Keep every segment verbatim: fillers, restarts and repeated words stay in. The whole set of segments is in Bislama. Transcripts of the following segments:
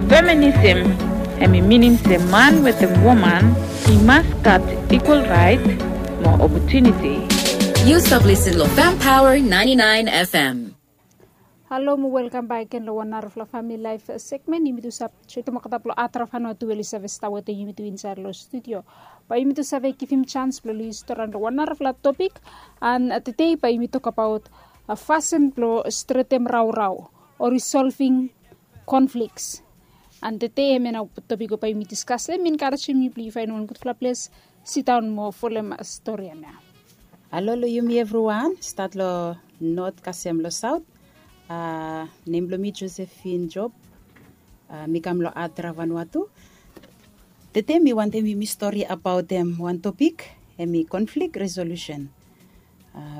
Feminism hemi minim se man wetem woman i mas gat ekwal raet mo opotuniti. Yu stap lisin long Fem Power ninety-nine F M. Halo mo welkam bak gen long wan narafala famili laef segmen. Yumi tu save join olgeta blong Adrava Vanuatu we oli save stap wetem yumi tu insaed long studio. Bae yumi tu save givim janis blong oli story long wan narafala topik. And tede bae yumi tokbaot fasin blong stretem raorao o risolving konfliks. And tede hemia nao topik we bae yumi diskas long hem i enkarejem yu blong yu faenem wan gudfala ples, sidaon mo folem stori hemia. Halo long yumi evriwan, stat long not kasem long saot. Nem blong mi Josephine Job. Mi kam long Adrava Vanuatu. Tede mi wantem yumi stori abaotem wan topik, hemi konflik resolusen.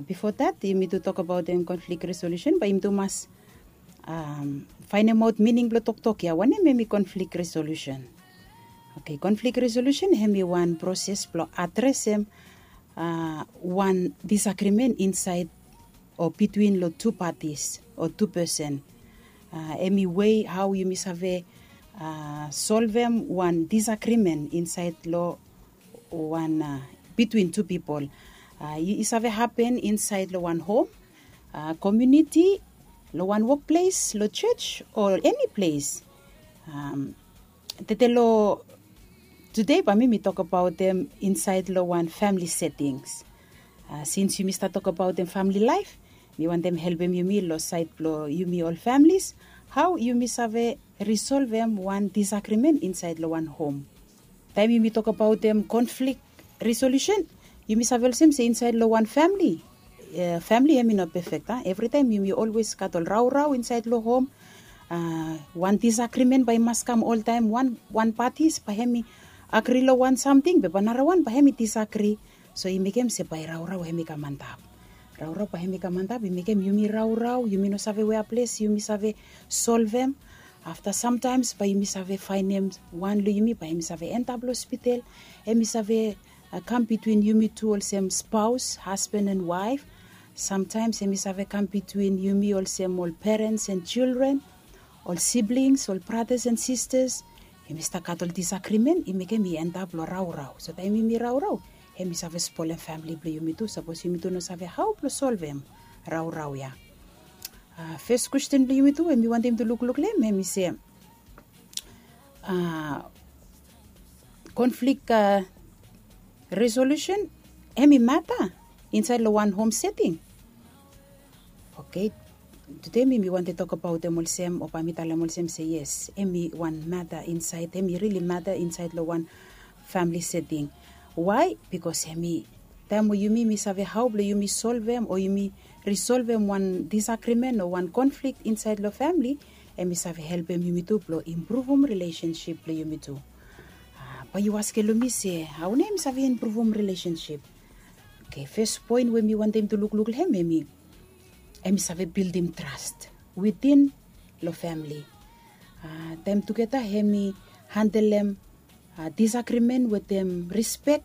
Bifo dat yumi tu tokbaotem konflik resolusen bae yumi tu mas faenemaot mining blong toktok ya, wanem hemi konflik resolusen. Oke, konflik resolusen hemi wan proses blong adresem wan disagrimen insaed o bitwin long tu patis o tu pesen. Hemi wei hao yumi save solvem wan disagrimen insaed long wan, bitwin tu pipol. I save hapen insaed long wan hom, komuniti, long wan wokples, long jos o eni ples. Tede long tude bae mi mi tokbaotem insaed long wan famili setings. Sins yumi stap tokbaotem famili laef, mi wantem helpem yumi long saed blong yumi ol familis, hao yumi save risolvem wan disagrimen insaed long wan hom. Taem yumi tokbaotem konflik resolusen, yumi save olsem se insaed long wan famili, famili hemi no pefek, a? Evritaem yumi olwes gat ol raorao insaed long hom. Wan disagrimen bae i mas kam oltaem. Wan, wan patis bae hemi agri long wan samting be bae narawan bae hemi disagri. So i mekem se bae raorao hemi kam antap. Raorao bae hemi kam antap, i mekem yumi raorao, yumi no save wea ples yumi save solvem. Afta samtaems bae yumi save faenem wan long yumi bae hemi save endap long hospital. Hemi save kam bitwin yumi tu olsem spaos, hasban and waef. Samtaems hemi save kam bitwin yumi olsem ol perens and jildren, ol siblings, ol bratas and sistas. Hemi stap gat ol disagrimen i mekem i endap long raorao. So taem yumi raorao, hemi save spolem famili blong yumi tu sapos yumi tu no save hao blong solvem raorao ya. Fes kwesten blong yumi tu we mi wantem tu lukluk long hem hemi se, konflik resolusen hemi mata insaed long wan hom seting? Oke, tude mi mi wantem tokbaotem olsem o bae mi talem olsem se yes, hemi wan mata insaed, hemi rili mata insaed long wan famili seting. Wae? Bikos hemi taem we yumi mi save hao blong yumi solvem o yumi risolvem wan disagrimen o wan konflik insaed long famili, hemi save helpem yumi tu blong impruvum rilesensip blong yumi tu. Bae yu askem long mi se hao nao hemi save impruvum rilesensip? Oke, fes poen we mi wantem tu lukluk long hem hemi, hemi save bildim tras witin long famili. Taem tugeta hemi handelem disagrimen wetem rispek,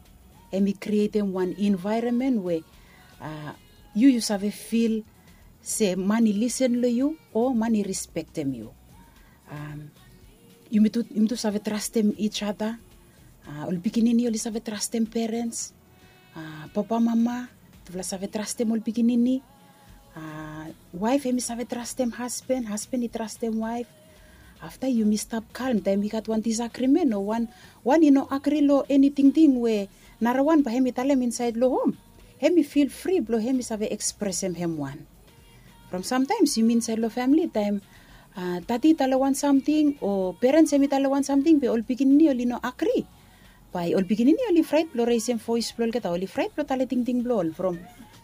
hemi krietem wan envaeronmen we yu yu save fil se man i lisen long yu o man i rispektem yu. Yumi tu, yumi tu save trastem each other. Ol pikinini oli save trastem perens. Papa, mama, tufala save trastem ol pikinini. Waef hemi save trastem hasban, hasban i trastem waef. Afta yumi stap kalm taem i gat wan disagrimen o wan, wan i no agri long eni tingting we narawan bae hemi talem insaed long hom. Hemi fil fri blong hemi save ekspresem hem wan. From samtaems yumi insaed long famili taem tati i talem wan samting o perens hemi talem wan samting be ol pikinini oli no agri. Bae ol pikinini oli fraet blong resem voes blong olgeta, oli fraet blong talem tingting blong ol. From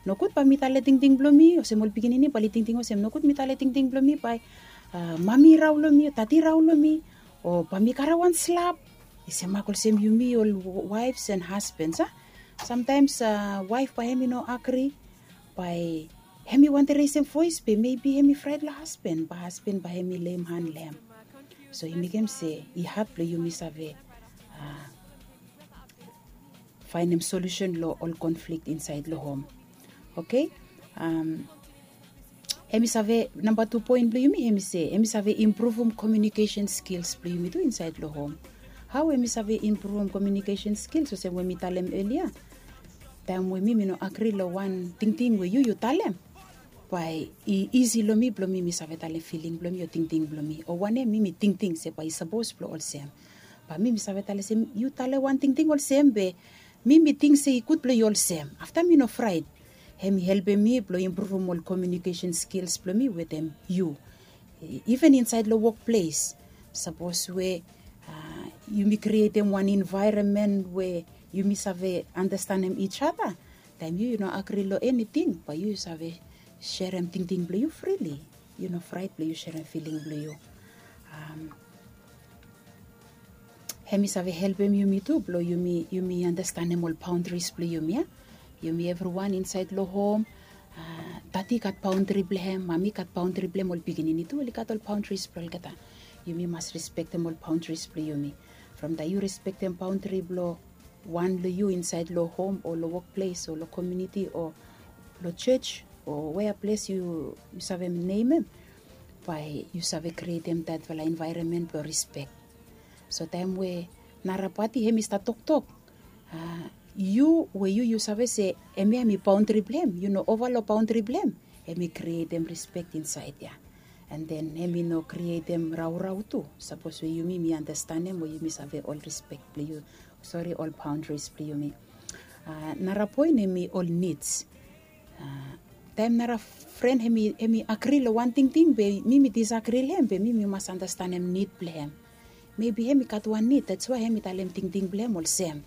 nogud bae mi talem tingting blong mi, olsem ol pikinini bae oli tingting olsem nogud mi talem tingting blong mi bae mami i rao long mi o tati i rao long mi, o bae mi karem wan slap. I semak olsem yumi ol waefs and hasbans a, samtaems waef bae hemi no agri, bae hemi wantem resem voes be mebi hemi fraet long hasban, bae hasban bae hemi leim han long hem. So i mekem se i had blong yumi save faenem solusen long ol konflik insaed long hom. Oke. Em i save namba tu poen blong yumi em i se em i save impruvum komiunikesen skils blong yumi tu insaed long hom. Hao em i save impruvum komiunikesen skils olsem we mi talem elia, taem we mi mi no agri long wan tingting we yu yu talem, bae i isi long mi blong mi mi save talem filing blong mi o tingting blong mi o wanem mi mi tingting se bae i sapos blong olsem. Bae mi mi save talem se yu talem wan tingting olsem be mi mi ting se i gud blong yu olsem afta mi no fraet. Hem i helpem mi blong impruvum ol komiunikesen skils blong mi wetem yu. Iven insaed long wokples, sapos we yumi krietem wan envaeronmen we yumi save anastenem ij ada, taem yu yu no agri long eniting bae yu yu save serem tingting blong yu frili. Yu no fraet blong yu serem filing blong yu. Hem i save helpem yumi tu blong yumi yumi anastenem ol baondris blong yumi ya. Yumi evriwan insaed long hom, dadi i gat baondri blong hem, mami i gat baondri blong hem, ol pikinini tu oli gat ol baondris blong olgeta. Yumi mas rispektem ol baondris blong yumi. From taem yu rispektem baondri blong wan long yu insaed long hom o long wokples o long komiuniti o long jos o wea ples yu save nemem, bae yu save krietem datfala envaeronmen blong rispek. So taem we nara pati hem i stap toktok, yu we yu yu save se hemia hem i baondri blong hem, yu no ova long baondri blong hem, hem i krietem rispek insaed ya. An den hem i no krietem raorao tu sapos we yumi mi anastenem we yumi save ol rispek blong yu, sori, ol baondris blong yumi. Nara poen hem i ol nids. Taem nara fren hem i agri long wan tingting be mi mi disagri long hem be mi mi mas anastenem nid blong hem. Mebi hem i gat wan nid, dats wae hem i talem tingting blong hem olsem.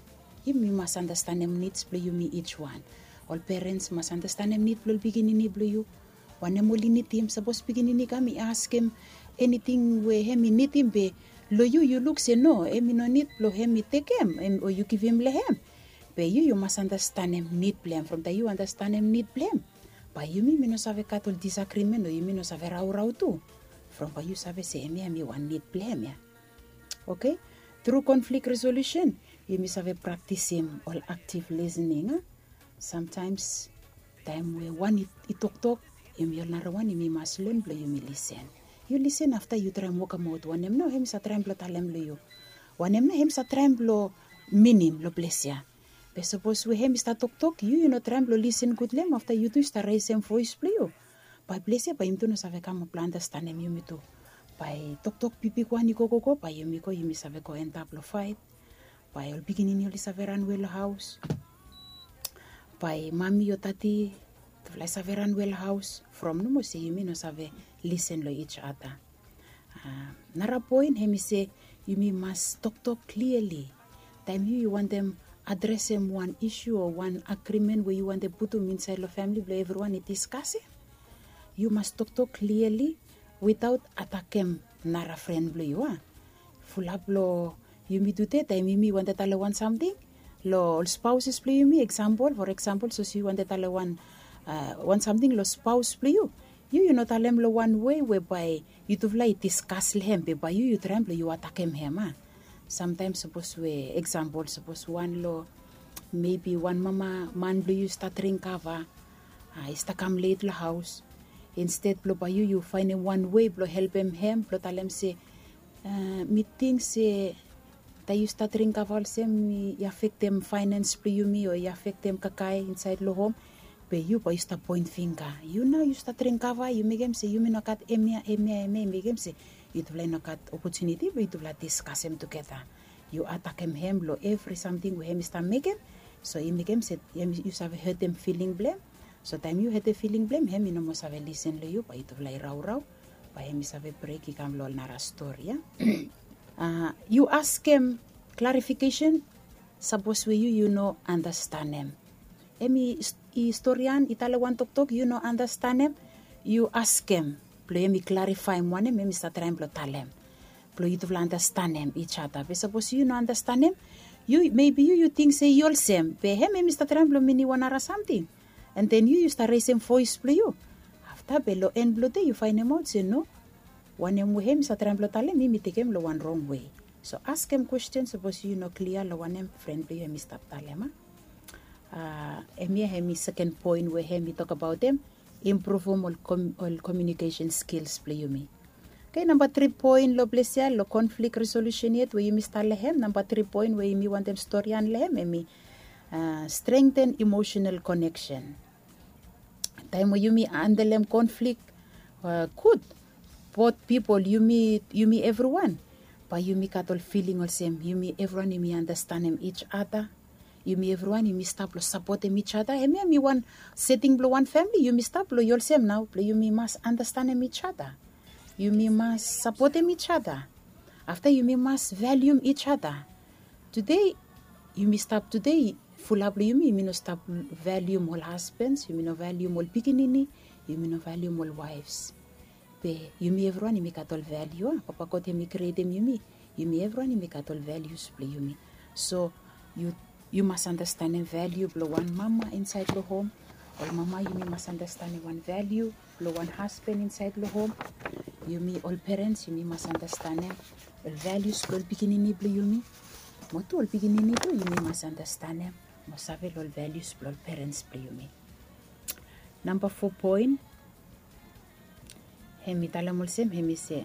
Yumi mas anastenem nids blong yumi ij wan. Ol perens mas anastenem nid blong ol pikinini blong yu. Wanem oli nidim, sapos pikinini i kam i askem eniting we hem i nidim be long yu yu luk se no, hem i no nid blong hem i tekem o yu givim long hem. Be yu yu mas anastenem nid blong hem. From taem yu anastenem nid blong hem, bae yumi mi no save gat ol disagrimen o yumi no save raorao tu. From bae yu save se hemia hem i wan nid blong hem ya. Oke. Tru konflik resolusen yumi save praktisim ol aktiv lisening a. Samtaems taem we wan i toktok, yumi ol narawan yumi mas len blong yumi lisen. Yu lisen afta yu traem wokemaot wanem nao hem i save traem blong talem long yu. Wanem nao hem i save traem blong minim long ples ya. Be sapos we hem i stap toktok yu yu no traem blong lisen gud long hem afta yu tu yu stap resem voes blong yu, bae ples ya bae yumi tu no save kam blong anastenem yumi tu. Bae toktok bigbigwan i gogogo bae yumi go yumi save go antap long faet. Bae ol pikinini oli save ranwe long haos. Bae mami o dadi tufala i save ranwe long haos from nomo se yumi no save lisen long ij ada. Nara poen hem i se yumi mas toktok kliali. Taem yu yu wantem adresem wan isu o wan agrimen we yu wantem putum insaed long famili blong evriwan i diskasem, yu mas toktok kliali witaot atakem nara fren blong yu a. Fulap long yumi tude taem yumi wantem talem wan samting long ol spaoses blong yumi, eksampol, for eksampol sapos yu wantem talem wan wan samting long spaos blong yu, yu yu no talem long wan wei we bae yutufala i diskas long hem be bae yu yu traem blong yu atakem hem a. Samtaem sapos we eksampol sapos wan long mebi wan mama man blong yu i stap dring kava, i stap kam let long haos. Insted blong bae yu yu faenem wan wei blong helpem hem blong talem se mi ting se taem yu stap dring kava olsem i afektem faenens blong yumi o i afektem kakae insaed long hom. Be yu bae yu stap poen fingga, yu nao yu stap dring kava yu mekem se yumi no gat hemia hemia hemia i mekem se yutufala i no gat opotuniti blong yutufala diskasem tugeta. Yu atakem hem long evri samting we hem i stap mekem. So i mekem se yu save hetem filing blong hem. So taem yu hetem filing blong hem hem i no moa save lisen long yu bae yutufala i raorao. Bae hem i save brek i kam long ol nara stori ya. Yu askem klarifikesen sapos we yu yu no anastenem. Hem i storian i talem wan toktok yu no anastenem, yu askem blong hem i klarifaem wanem hem i stap traem blong talem, blong yutufala anastenem ij ada. Be sapos yu no anastenem, yu mebi yu yu ting se i olsem be hem hem i stap traem blong minim wan nara samting. An den yu yu stap resem voes blong yu. Afta be long en blong dei yu faenemaot se no, wanem we hem i stap traem blong talem mi mi tekem long wan rong wei. So askem kwesten sapos yu no klia long wanem fren blong yu hem i stap talem a. Hemia hem i seken poen we hem i tokbaotem. impruvum ol komiunikesen skils blong yumi. Oke, namba tri poen long ples ya long konflik resolusen yet we yumi stap long hem, namba tri poen we yumi wantem stori long hem hemi strengten emosenal koneksen. Taem we yumi handelem konflik gud, bot pipol, yumi evriwan, bae yumi gat ol filing olsem yumi evriwan yumi anastenem ij ada. Yumi evriwan yumi stap long sapotem ij ada. Hemia hemi wan seting blong wan famili, yumi stap long yu olsem nao blong yumi mas anastenem ij ada. Yumi mas sapotem ij ada. Afta yumi mas valium ij ada. Tude yumi stap tude, fulap long yumi yumi no stap valium ol hasbens, yumi no valium ol pikinini, yumi no valium ol waefs. Be yumi evriwan yumi gat ol valiu a papa god hemi krietem yumi. Yumi evriwan yumi gat ol valius blong yumi. So yu mas anastenem valiu blong wan mama insaed long hom. Ol mama yumi mas anastenem wan valiu blong wan hasben insaed long hom. Yumi ol perens yumi mas anastenem ol valius blong ol pikinini blong yumi. Mo tu ol pikinini tu yumi mas anastenem mo save long ol valius blong ol perens blong yumi. Namba fo poen, hemi talem olsem hemi se